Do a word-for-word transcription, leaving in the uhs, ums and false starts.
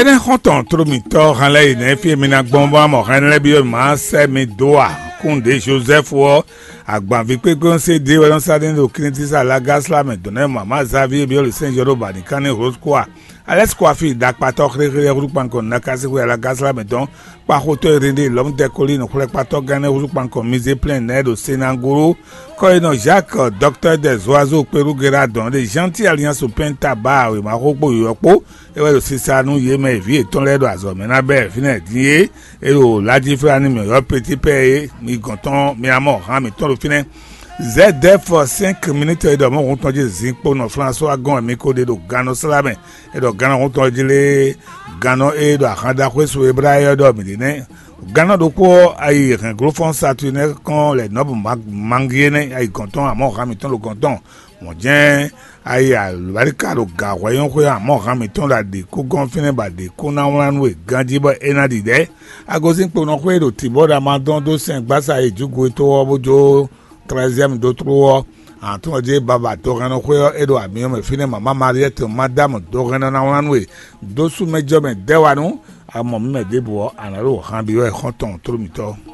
Kɛ́n xɔ́ntɔn tló mǐtɔn hɛn lɛ́ɛ yi nɛ̌ fí e mi ná gbɔn bɔ amɔ hɛn lɛ́ɛ byɔ́ mǐ má sɛ́ mi dó a? Kúnɖě Jozɛ́fu ɔ́, agbanví kpékpé ɔ́ sé ɖé wɛ nɔ́ sá ɖe ní ɖo Klítísa Lagasla mɛ dɔn nɛ́ mama Zavíe byɔ́ ɖo Sɛ́n Jɔ́ɖo ba nǐ kán nɛ́ Hlozkúa. Alɛ́sikúafi ɖakpatɔ́ xlexle ɔ́ húzú kpankɔ nǔ ná ká sín xwé Lagasla mɛ dɔn, kpáxotɔ́ e ɖe ɖe Lɔ̌mudɛ́ Kolíinu xwlɛ́kpatɔ́ gán nɛ́ húzú kpankɔ Mizéplɛ́n nɛ́ ɖo Senágolo, kɔ́yinɔ Jacques, dɔktɔ́ dɛ Zoazo Kpeɖúgera dɔn ɖe Janti Aliansu Pɛ́nta ba wěma xó kpó yɔ̌yɔ́ kpó, é wɛ ɖo sisa nú yě mɛ e vǐ yětɔn lɛ́ɛ ɖo azɔ̌ mɛ ná bɛ́ fínɛ́ din é. É ɖo Lajiflani mǐ ylɔ́ Petipɛ́ é, mi gɔn tɔn mi ná mɔ hǎn mǐtɔn ɖo fínɛ́. Zɛ̌dɛ́fɔ sɛ́nk minítɔ e ɖɔ mɔ̌ hun tɔn jí zinkpo nɔ Flasuwa gɔ́n wɛ mi ko ɖe ɖo gannɔ slá mɛ. É ɖɔ gannɔ hun tɔn jí lé gannɔ e ɖo ahan ɖaxó e su e blá é ɔ́ ɖɔ mǐ ɖe nɛ́. Gannɔ ɖokpó ɔ́, ayi hɛ̌nglófɔ́n Satunɛ́ kɔn lɛ nɔ́ bu mangi énɛ́ ayi gɔn tɔn, amɔ̌ hǎn mǐtɔn ɖo gɔn tɔn. Mɔ̌ jɛ́n ayi alɔ̌báríka ɖo gǎ hwɛ́nyɔ́xwé amɔ̌ hǎn mǐtɔn ɖo aɖě kú gɔ́n fínɛ́ bɔ aɖě kú ná wlán nú we ganjí bɔ é ná ɖiɖɛ̌. Agosín kponɔxwé e ɖo tǐ bɔ ɖo amadɔn dó sɛn gbásá e jǔgo e tó ɔ́ bó jó trɛ́ziɛ́mu dó tló ɔ́, ahan tɔn ɔ́ jí baba dohɛnnɔxwé ɔ́ é ɖo amyɔ mɛ fínɛ́ mama Mariɛ́ti Madámu dohɛnnɔ ná wlán nú we dó sú mɛ jɔ mɛ dɛ́ wa nú amɔ mǐ mɛ ɖěbǔ ɔ́, a nǎ ɖo han byɔ́ wɛ xɔ́ntɔn tló mǐtɔn.